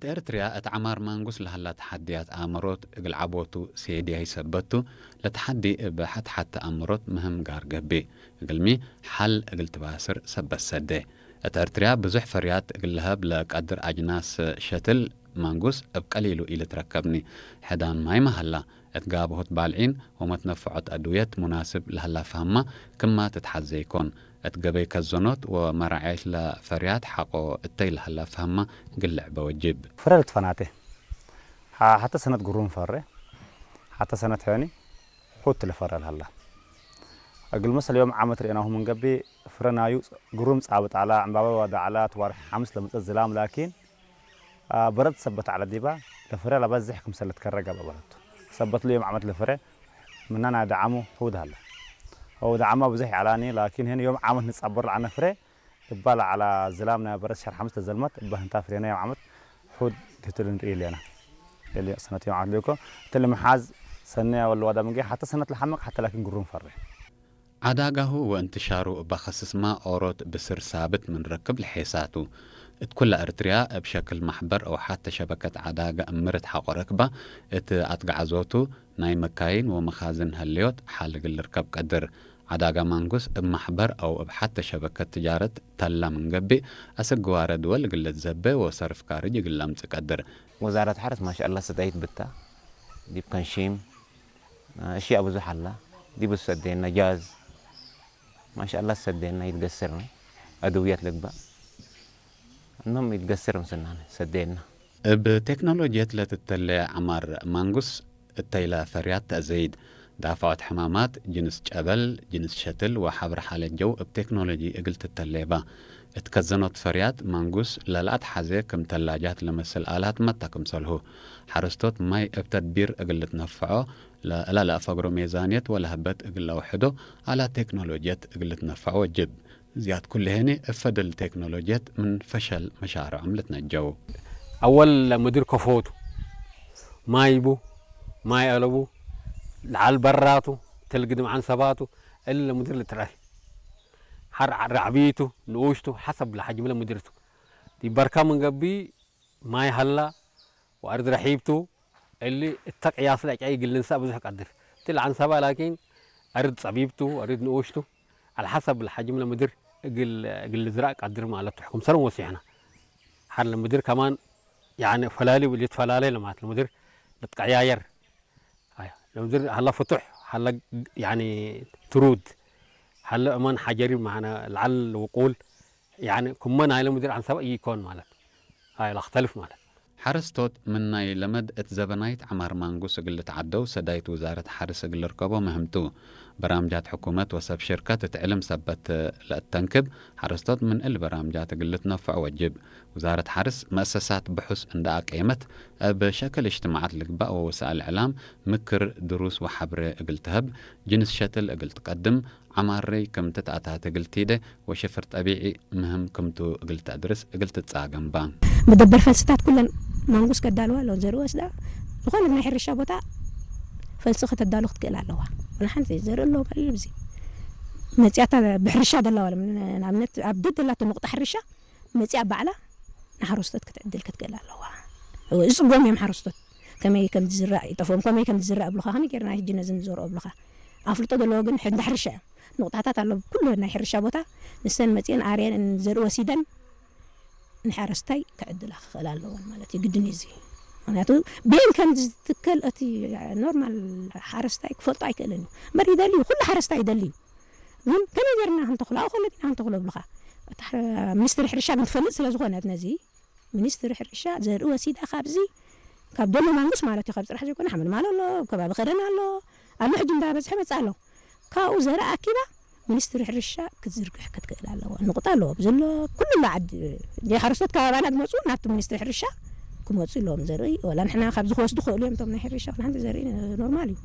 እት ኤርትርያ እት ዐማር ማንጉስ ለሀላ ተሓድያት ኣእምሮት እግል ዐቦቱ ሴድያ ይሰበቱ፣ ለተሓዲ እብ ሐት-ሐት ተኣምሮት ምህም ጋር ገብእ፣ እግልሚ ሐል እግል ትባስር ሰበት ሰዴ። እት ኤርትርያ ብዙሕ ፈርያት እግል ለሀብ ለቀድር ኣጅናስ ሸትል ማንጉስ እብ ቀሊሉ ኢልትረከብኒ። ሕዳን ማይመ ሀላ፣ እት ጋብሆት ባልዒን ወመትነፍዖት ኣድውየት ሙናስብ ለሀላ ፈሀማ ክማ ትትሓዘ ኢኮን። እት ገበይ ከዘኖት ወመራዐየት ለፈርያት ሐቆ እተይ ለሀላ ፈሀማ ግልዕ በወጅብ። ፍረ ልትፈናቴ። ሐ-፣ ሐተ ሰነት ግሩም ፈሬ። ሐተ ሰነት ሔኒ ሑት ለፈረ ለሀላ። እግል መሰል ዮም ዓመት ርኤናሁ ምን ገብእ ፍረ ናዩ ግሩም ጻብጥ ዐላ፣ ዕምባበ ወደ ዐላ፣ ትዋርሕ ሐምስ ለመጸት ዝላም ላኪን አ፣ በረድ ሰበት ዐለ ዲባ፣ ለፍረ ለበዝሕ ክምሰል ልትከረ ገብአ በለቱ። ሰበት ለዮም ዓመት ለፍረ ምና ናይ ደዓሙ ሑድ ሀለ። አው ደዓማ ብዙሕ ይዐላኒ፣ ላኪን ህን ዮም ዓመት ንጻበር ለዐነ ፍረ፣ እባ ለዐላ ዝላም ናይ በረድ ሸር ሐምስ ለዘልመት፣ እባ ህንታ ፍሬና ዮም ዓመት ሑድ ክትል ንርኢ ሌና። ኤሊ ሰነት ዮም ዓመት ሌኮ፣ እትል ምሓዝ ሰነ ወለ ዋዳ ምንጌ፣ ሐተ ሰነት ለሐመቅ፣ ሐተ ላኪን ግሩም ፈረ። ዐዳጋሁ ወእንትሻሩ እበ ከስስማ ኦሮት ብስር ሳብት ምን ረክብ ለሔሳቱ። እት ኩለ እርትርያ እብ ሸክል ማሕበር አው ሐተ ሸበከት ዐዳገ እምርት ሐቆ ረክባ እት አትጋዕዞቱ ናይ መካይን ወመኻዝን ሀለዮት ሐል እግል ልርከብ ቀድር። ዐዳጋ ማንጉስ እብ ማሕበር አው እብ ሐተ ሸበከት ትጃረት ተላ ምን ገብእ፣ አሰግዋረ ድወል እግል ልትዘቤ ወሰርፍ ካርጅ እግል ለምጽእ ቀድር። ወዛረት ሐርስ ማሻአላህ ሰዳይት ብታ ዲብ ከንሺም እሽያእ ብዙሕ አላ። ዲብ ሰዴና ጃዝ ማሻአላህ ሰዴና ይትገስርነ። አድውያት ልግባእ እኖም ይትገስር ምስናነ ሰዴና። እብ ቴክኖሎጅየት ለትተሌ ዐማር ማንጉስ እተይለ ፈርያት ተአዘይድ። ዳፍዖት ሕማማት፣ ጅንስ ጨበል፣ ጅንስ ሸትል ወሐብር ሓለት ጀው እብ ቴክኖሎጂ እግል ትተሌባ። እት ከዘኖት ፈርያት ማንጉስ ለለአትሐዜ ክም ተላጃት ለመስል አላት መታ ክምሰልሁ። ሐረስቶት ማይ እብ ተድቢር እግል ልትነፈዖ፣ ለእላ ለአፈግሮ ሜዛንየት ወለሀበት እግል ለአውሕዶ አላት ቴክኖሎጅየት እግል ልትነፈዖ ወጅብ። እዚያት ኩልሄኒ እብ ፈደል ቴክኖሎጅየት ምን ፈሸል መሻርዖም ልትነጀው። አወል ምድር ከፎቱ፣ ማይ ቡ፣ ማይ አለቡ፣ ለዓል በራቱ፣ ተልግድም ዐንሰባቱ፣ እሊ ምድር ልትረአይ። ሐር ራዕቢቱ፣ ንኡሽቱ፣ ሐሰብ ለሐጅም ለምድርቱ። ዲብ በርካ ምን ገብእ ማይ ሀላ ወአርድ ረሒብቱ፣ እሊ እተ ቅያስ ለአጫይ እግል ልንሳእ ብዙሕ ቀድር። እት ለዐንሰባ ላኪን አርድ ጸቢብቱ፣ አርድ ንኡሽቱ፣ ዐለ ሐሰብ ለሐጅም ለምድር እግል፣ እግል ልዝራእ ቀድር ማለቱ። ሕኩም ሰለም ወሲሕና። ሐር ለምድር ከማን ያኒ ፈላሊ ልትፈላለ ለማለት ለምድር ልትቀያየር። አይ፣ ለምድር ሀላ ፍቱሕ፣ ሀላ ያኒ ትሩድ፣ ሀላ እማን ሐጀሪ ማዕነ ለዐል ውቁል፣ ያኒ ክመ ናይለ ምድር ዐንሰባ ኢኮን ማለት። አይ፣ ለክተልፍ ማለት። ሐረስቶት ምን ናይ ለመድ እት ዘበናይት ዐማር ማንጉስ እግል ልትዓደው ሰዳይት ውዛረት ሐርስ እግል ልርከቦ ምህምቱ። በራምጃት ሕኩመት ወሰብ ሽርከት እት ዕልም ሰበት ለእተንክብ፣ ሐረስቶት ምን እል በራምጃት እግል ልትነፈዑ ወጅብ። ውዛረት ሐርስ መእሰሳት ብሑስ እንዳ አቀየመት፣ እብ ሸክል እጅትማዓት ልግባእ ወወሳእል እዕላም ምክር፣ ድሩስ ወሐብሬ እግል ትሀብ፣ ጅንስ ሸትል እግል ትቀድም፣ ዐማሬ ክም ትትአታት እግል ቲደ ወሽፍር ጠቢዒ ምህም ክምቱ እግል ተአድርስ እግል ትትጻገም ባ። መደበር ፈልስታት ኩለን ማንጉስ ከዳልዋ ኣለወን። ዘርኢ ወስዳ ዝኾነ ናይ ሕርሻ ቦታ ፈልሲ ከተዳሉ ክትክእል ኣለዋ። ወላ ሓንቲ ዘርኢ ኣለዎ ማለት ኣብዚ መጽያታ ብሕርሻ ደላዋ ለም-፣ ንኣብነት ኣብ ደደላቶ ንቑጣ ሕርሻ መጽያ ባዕላ ንሓረስቶት ክትዕድል ክትክእል ኣለዋ። ይጽጎም እዮም ሓረስቶት። ከመይ ከም ዝዝራእ ይጠፍኦም፣ ከመይ ከም ዝዝራእ እብሉኻ፣ ከመይ ጌርና ሕጂ ነዚ ንዘርኦ እብሉኻ። ኣፍልጦ ዘለዎ ግን ሕንዳ ሕርሻ እዮም። ንቑጣታት ኣሎ፣ ኩሉ ናይ ሕርሻ ቦታ ንሰን መጺአን ኣርየን ዘርኢ ወሲደን ንሓረስታይ ክዕድላ ክኽእል ኣለወን ማለት እዩ፣ ግድን እዩ እዚ። ምኽንያቱ ቤን ከም ዝትከል እቲ ኖርማል ሓረስታይ ክፈልጦ ኣይክእልን እዩ። እምበር ይደሊ እዩ፣ ኩሉ ሓረስታይ ይደሊ እዩ። ግን ከመይ ጌርና ክንተኽሎ፣ ኣብኡ ከሎ ዲና ክንተኽሎ እብሉኻ። እታ ሕረ-፣ ሚኒስትሪ ሕርሻ ግን ትፈልጥ ስለ ዝኾነት ነዚ፣ ሚኒስትሪ ሕርሻ ዘርኢ ወሲዳ ካብዚ፣ ካብ ደሎ ማንጉስ ማለት እዩ፣ ካብ ጽራሕ ዘይኮነ ሓመልማል ኣሎ፣ ኣብ ከባቢ ከደን ኣሎ፣ ኣሎ ሕጂ እንዳበዝሐ መጽእ ኣሎ። ካብኡ ዘርኢ ኣኪባ ሚኒስትሪ ሕርሻ ክትዝርግሕ ክትክእል ኣለዋ። ንቑጣ ኣለዎ፣ ኣብዚ ኣሎ ኩሉ ኣሎ ዓዲ፣ ሓረስቶት ከባባና ዝመጹ ናብቲ ሚኒስትሪ ሕርሻ ክመጹ ኣለዎም ዘርኢ። ወላ ንሕና ካብዚ ክወስዱ ክኽእሉ እዮም እቶም ናይ ሕርሻ፣ ወላ ሓንቲ ዘርኢ ኖርማል እዩ።